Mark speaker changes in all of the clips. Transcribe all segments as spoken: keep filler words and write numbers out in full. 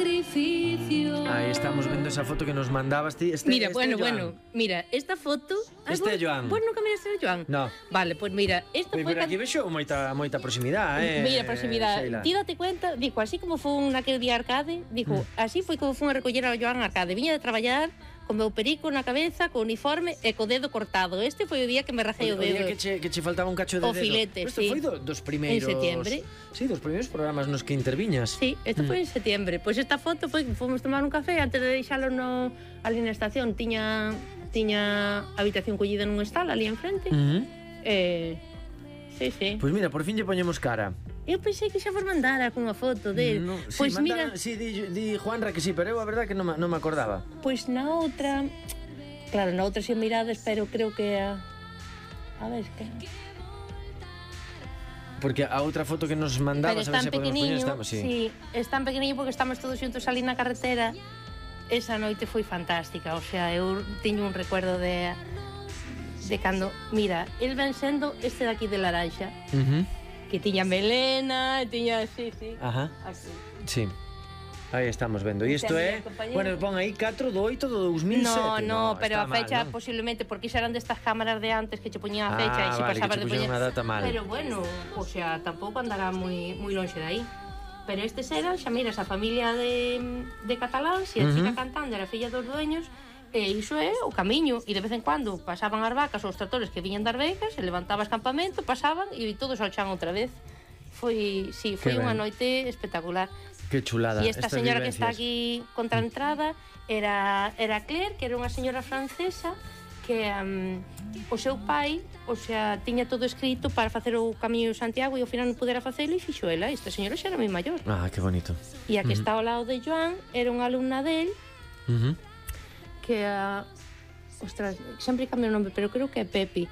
Speaker 1: Ahí estamos vendo esa foto que nos mandabas ti. Este,
Speaker 2: Mira,
Speaker 1: este
Speaker 2: bueno,
Speaker 1: é Joan.
Speaker 2: bueno, mira, esta foto...
Speaker 1: Este é Joan.
Speaker 2: Bueno, nunca miraste a Joan?
Speaker 1: No.
Speaker 2: Vale, pues mira, esta
Speaker 1: Pero,
Speaker 2: foi...
Speaker 1: pero aquí vexo moita, moita proximidade, eh?
Speaker 2: Mira, proximidade.
Speaker 1: Sheila.
Speaker 2: Ti date cuenta, dijo, así como fun naquele día Arcade, dijo,
Speaker 1: Mm.
Speaker 2: así foi como fun a recoller a Joan Arcade. Viña de traballar con meu perico na cabeza, co uniforme e co dedo cortado. Este foi o día que me rajei o
Speaker 1: O día
Speaker 2: dedo.
Speaker 1: que che, que che faltaba un cacho de
Speaker 2: O
Speaker 1: dedo.
Speaker 2: filete,
Speaker 1: Isto
Speaker 2: sí.
Speaker 1: foi do, dos primeiros...
Speaker 2: En setiembre.
Speaker 1: Sí, dos primeiros programas nos que interviñas.
Speaker 2: Sí, isto
Speaker 1: Mm.
Speaker 2: foi en setiembre. Pois esta foto foi que fomos tomar un café antes de deixalo no ali na estación, tiña tiña habitación collida nun estal ali enfrente.
Speaker 1: Mm.
Speaker 2: Eh, sí, sí.
Speaker 1: Pois mira, por fin lle poñemos cara.
Speaker 2: Eu pensei que xa vos mandara cunha foto del.
Speaker 1: No,
Speaker 2: Pois
Speaker 1: sí,
Speaker 2: mira,
Speaker 1: mandara, sí, di, di Juanra que sí, pero eu a verdad que non, ma- non me acordaba.
Speaker 2: pois na outra, claro, na outra xe mirades, pero creo que a a ver, que
Speaker 1: Porque a outra foto que nos
Speaker 2: pero
Speaker 1: mandabas, a ver
Speaker 2: están
Speaker 1: se podemos poñer,
Speaker 2: pequeniño,
Speaker 1: estamos, sí.
Speaker 2: sí, están pequeniño porque estamos todos xuntos ali na carretera. Esa noite foi fantástica, o sea, eu teño un recuerdo de de cando, mira, el ven sendo este daqui de laranxa,
Speaker 1: Uh -huh.
Speaker 2: que tiña melena, tiña, sí, sí,
Speaker 1: Ajá,
Speaker 2: aquí.
Speaker 1: sí. Aí estamos vendo. E
Speaker 2: Este
Speaker 1: isto
Speaker 2: é
Speaker 1: é,
Speaker 2: mi compañero.
Speaker 1: bueno, pon aí catro do oito do dos mil sete.
Speaker 2: No, no, pero
Speaker 1: está
Speaker 2: a fecha
Speaker 1: mal, non?
Speaker 2: posiblemente porque xa eran destas cámaras de antes que che poñían a fecha
Speaker 1: Ah,
Speaker 2: e se
Speaker 1: vale,
Speaker 2: pasabas
Speaker 1: que che
Speaker 2: de poñer.
Speaker 1: puxeron a data mal.
Speaker 2: Pero bueno, o sea, tampouco andará moi moi lonxe de aí. Pero estes eran, xa miras, a familia de, de cataláns e a
Speaker 1: Uh -huh.
Speaker 2: chica cantando era filla dos dueños, e iso é o camiño, e de vez en cuando pasaban as vacas ou os tractores que viñan das becas, e levantabas campamento, pasaban e todos ao chan outra vez. Foi, sí, foi
Speaker 1: Que
Speaker 2: unha
Speaker 1: ben.
Speaker 2: noite espectacular.
Speaker 1: Que chulada.
Speaker 2: E esta
Speaker 1: estas
Speaker 2: señora que está
Speaker 1: vivencias.
Speaker 2: aquí contra a entrada era, era Claire, que era unha señora francesa que um, o seu pai, o sea, tiña todo escrito para facer o Camiño de Santiago e ao final non pudera facelo e fixo ela. Esta señora xa era moi maior.
Speaker 1: Ah, que bonito.
Speaker 2: E a que
Speaker 1: Uh -huh.
Speaker 2: está ao lado de Joan era unha alumna del
Speaker 1: Uh -huh.
Speaker 2: que a... Ostras, sempre cambio o nome, pero creo que é Pepi,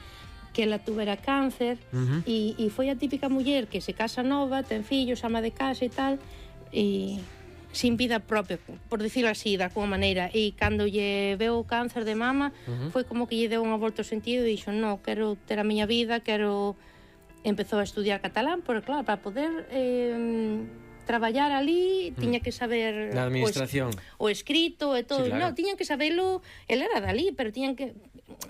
Speaker 2: que ela tuvera cáncer
Speaker 1: Uh -huh.
Speaker 2: e, e foi a típica muller que se casa nova, ten fillos, ama de casa e tal, e sin vida propia, por dicirlo así, de alguma maneira, e cando lle veu o cáncer de mama,
Speaker 1: Uh -huh.
Speaker 2: foi como que lle deu unha volta ao sentido e dixo, no, quero ter a miña vida, quero... Empezou a estudiar catalán, porque claro, para poder eh, traballar ali, tiña que saber
Speaker 1: Na administración.
Speaker 2: o, es, o escrito e todo.
Speaker 1: Sí, claro.
Speaker 2: No, tiñan que sabelo, el era dali, pero tiñan que...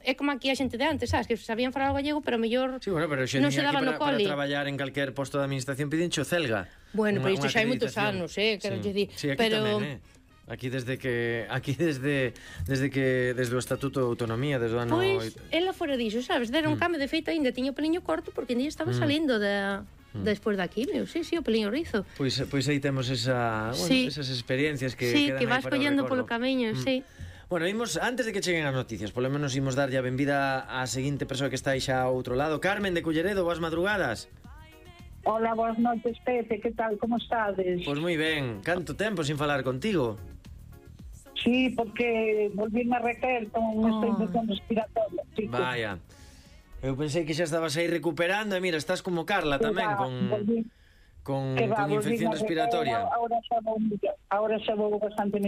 Speaker 2: É como aquí a xente de antes, sabes? Que sabían falar o gallego, pero mellor
Speaker 1: Sí, bueno, pero xe
Speaker 2: non
Speaker 1: tiña
Speaker 2: se daba
Speaker 1: que
Speaker 2: no
Speaker 1: para, para
Speaker 2: cole.
Speaker 1: traballar en calquer posto de administración piden xo celga.
Speaker 2: Bueno,
Speaker 1: Unha-
Speaker 2: pero isto
Speaker 1: unha
Speaker 2: xa hai moitos
Speaker 1: acreditación.
Speaker 2: anos, eh, quero
Speaker 1: Sí.
Speaker 2: lle dir.
Speaker 1: Sí, aquí
Speaker 2: pero
Speaker 1: tamén, eh. Aquí desde que aquí desde desde que desde o Estatuto de Autonomía desde o ano
Speaker 2: Pois,
Speaker 1: oito-
Speaker 2: ela fora diso, sabes? Dera un
Speaker 1: Mm.
Speaker 2: cambio, de feito, ainda tiña o peliño corto porque ainda estaba
Speaker 1: Mm.
Speaker 2: salindo da... Despois daqui, meu, sí, sí, o peliño rizo.
Speaker 1: Pois pois aí temos esa, bueno,
Speaker 2: Sí.
Speaker 1: esas experiencias que
Speaker 2: Sí,
Speaker 1: quedan
Speaker 2: que
Speaker 1: aí
Speaker 2: vas
Speaker 1: para o
Speaker 2: collendo
Speaker 1: recordo.
Speaker 2: polo camiño,
Speaker 1: Mm.
Speaker 2: sí.
Speaker 1: Bueno, imos, antes de que cheguen as noticias, polo menos imos darlle a benvida á seguinte persoa que está aí xa ao outro lado. Carmen de Culleredo, boas madrugadas.
Speaker 3: Hola, boas noches, Pepe, que tal, como estades?
Speaker 1: Pois moi ben, canto tempo sin falar contigo.
Speaker 3: Sí, porque volví a recaer con esta
Speaker 2: Oh.
Speaker 3: infección respiratoria, chico.
Speaker 1: Vaya. Eu pensei que xa estabas aí recuperando e mira, estás como Carla
Speaker 3: Que
Speaker 1: tamén
Speaker 3: va,
Speaker 1: con
Speaker 3: volví-
Speaker 1: con,
Speaker 3: que va,
Speaker 1: con
Speaker 3: volví
Speaker 1: infección
Speaker 3: a recaer,
Speaker 1: respiratoria.
Speaker 3: Ahora xa vou, ahora xa vou bastante